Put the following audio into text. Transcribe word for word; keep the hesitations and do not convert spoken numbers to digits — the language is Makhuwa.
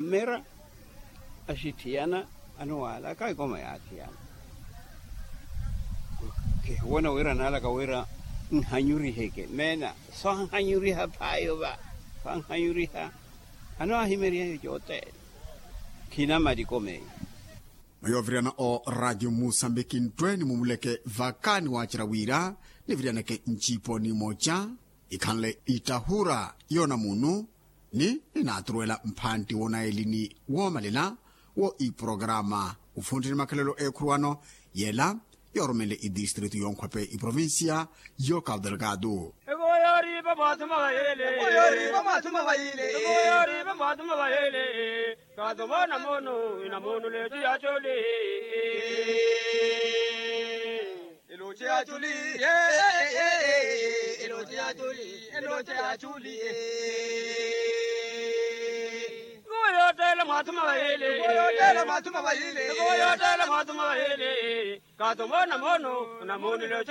Mmera axitthiyana, anowaalaka ekoma yaathiyana. Kihiwona wira anaalaka wira nhanyuriheke meena, swanhanyuriha phaayo va, swanhanyuriha. Anowahimery'eyo cothene. Khina mali ekoma eyo. Mwa yooviriyana o radio musambiki nttwe nimumuleke vaka niwaacerya wira niviriyaneke ncipo nimoca ikhanle ittahura yoona munu ni ninaaturuwela mphantti woonaeli ni woomalela wo iporokaraama ufuntti ni makhalelo eekhuruwano yela yoorumenle idistritu yonkhwepe iprovincia yo cabo delgado. Evo yooripa mwathuma vayele. Evo yooripa mwathuma vayele. Evo yooripa mwathuma vayele. Kathomona mono ina mono leetu yaacoli. Eloci yaacoli. Eloci yaacoli. Eloci yaacoli. Evo yoottela mwathuma vayele. Evo yoottela mwathuma vayele. Evo yoottela mwathuma vayele. Kathomona mono ina mono leetu